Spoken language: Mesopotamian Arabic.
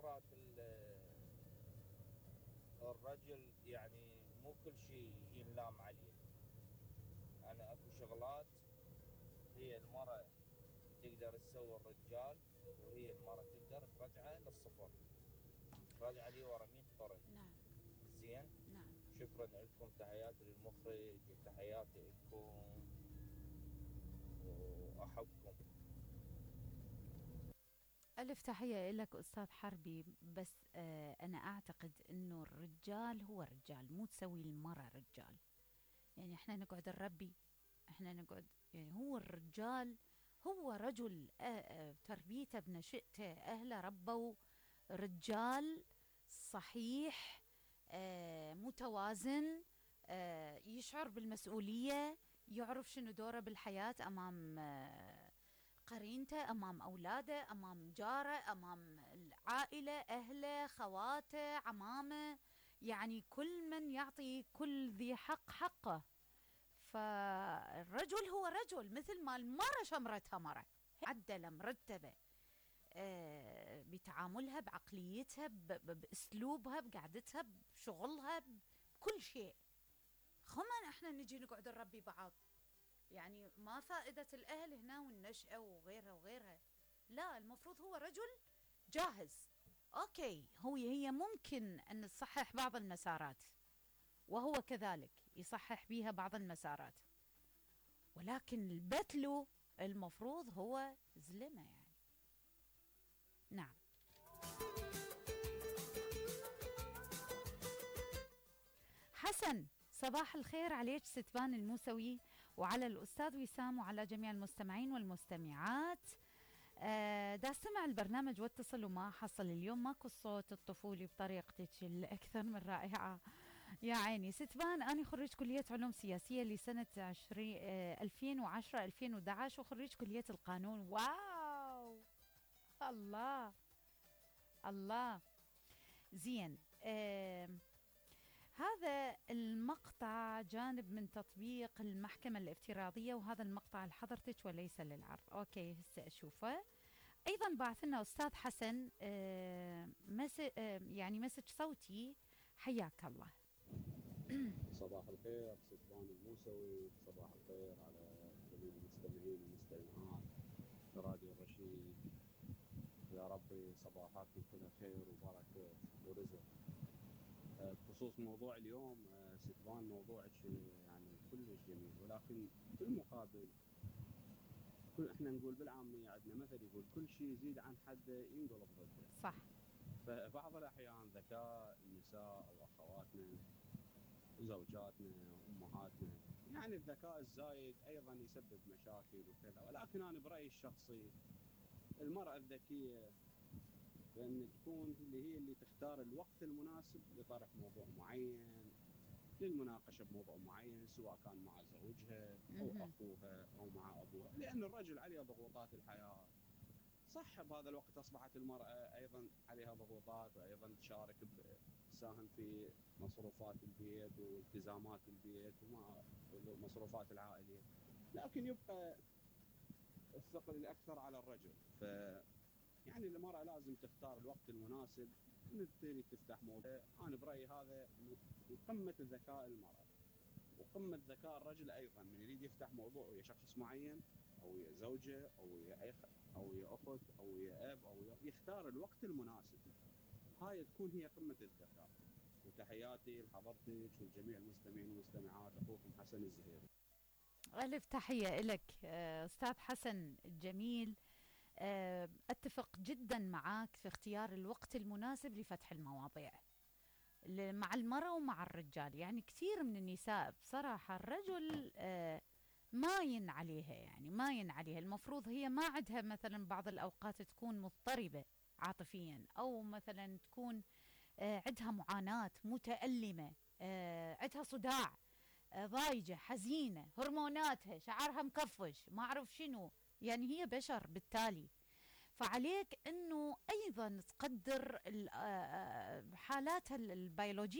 مرات الرجل يعني مو كل شيء ينلام عليه. يعني اكو شغلات هي المرأة تقدر تسوي الرجال، وهي المرأة تقدر ترجعه للصفر، ترجعه لي ورا 100 قرن. نعم. زين. نعم. شكرا لكم، تحياتي للمخرج وتحياتي لكم واحبكم. ألف تحية لك أستاذ حربي. بس أنا أعتقد أنه الرجال هو رجال، مو تسوي المرأة رجال. يعني إحنا نقعد نربي، إحنا نقعد، يعني هو الرجال هو رجل. تربيته بنشئته أهله ربوا رجال صحيح، متوازن، يشعر بالمسؤولية، يعرف شنو دوره بالحياة أمام قرينته، أمام أولاده، أمام جاره، أمام العائلة، أهله، خواته، عمامه. يعني كل من يعطي كل ذي حق حقه. فالرجل هو رجل، مثل ما المرأة شمرتها مرة عدلة مرتبة، بتعاملها، بعقليتها، بأسلوبها، بقعدتها، بشغلها، بكل شيء. خمان احنا نجي نقعد نربي بعض، يعني ما فائدة الأهل هنا والنشأة وغيرها وغيرها. لا، المفروض هو رجل جاهز. أوكي، هي ممكن أن تصحح بعض المسارات، وهو كذلك يصحح بيها بعض المسارات، ولكن البتلو المفروض هو زلمة يعني. نعم. حسن، صباح الخير عليك ستبان الموسوي، وعلى الأستاذ وسام، وعلى جميع المستمعين والمستمعات. دا استمع البرنامج واتصل وما حصل اليوم، ماكو الصوت الطفولي بطريقتك الأكثر من رائعة. يا عيني ستبان، أنا خريج كلية علوم سياسية لسنة 2010-2011، وخريج كلية القانون. واو، الله الله. زين. هذا المقطع جانب من تطبيق المحكمة الافتراضية، وهذا المقطع لحضرتك وليس للعرض. أوكي، هسه أشوفه. أيضا بعث لنا أستاذ حسن يعني مسج صوتي. حياك الله. صباح الخير ستبان الموسوي، صباح الخير على جميع المستمعين والمستمعات براديو الرشيد. يا ربي صباحاتكم كلها خير وبركة ورزق. بخصوص موضوع اليوم ستبان، موضوعك يعني كلش جميل، ولكن بالمقابل احنا نقول بالعامية، عندنا مثل يقول كل شيء يزيد عن حده ينقلب ضده. صح. فبعض الأحيان ذكاء النساء أو أخواتنا وزوجاتنا وأمهاتنا، يعني الذكاء الزايد أيضا يسبب مشاكل وكذا. ولكن أنا برأيي الشخصي، المرأة الذكية بأن تكون اللي تختار الوقت المناسب لطرح موضوع معين، للمناقشة بموضوع معين، سواء كان مع زوجها أو أخوها أو مع أبوها. لأن الرجل عليه ضغوطات الحياة، صح بهذا الوقت أصبحت المرأة أيضا عليها ضغوطات، وأيضا تساهم في مصروفات البيت والتزامات البيت ومصروفات العائلية، لكن يبقى الثقل الأكثر على الرجل. يعني المرأة لازم تختار الوقت المناسب من تفتح موضوع. أنا برأيي هذا قمة الذكاء المرأة، وقمة ذكاء الرجل أيضا، من يريد يفتح موضوع ويا شخص معين أو ويا زوجة أو ويا أخ أو ويا أخت أو ويا أب أو يختار الوقت المناسب. هاي تكون هي قمة الذكاء. وتحياتي لحضرتك وجميع المستمعين والمستمعات، أخوكم حسن الزهيري. ألف تحية لك أستاذ حسن الجميل. أتفق جدا معك في اختيار الوقت المناسب لفتح المواضيع مع المرأة ومع الرجال. يعني كثير من النساء بصراحة الرجل ماين عليها، يعني ماين عليها. المفروض هي ما عندها مثلا بعض الأوقات تكون مضطربة عاطفيا، أو مثلا تكون عندها معاناة متألمة، عندها صداع، ضايجة، حزينة، هرموناتها، شعرها مكفش، ما أعرف شنو. يعني هي بشر بالتالي، فعليك أنه أيضا تقدر حالاتها البيولوجية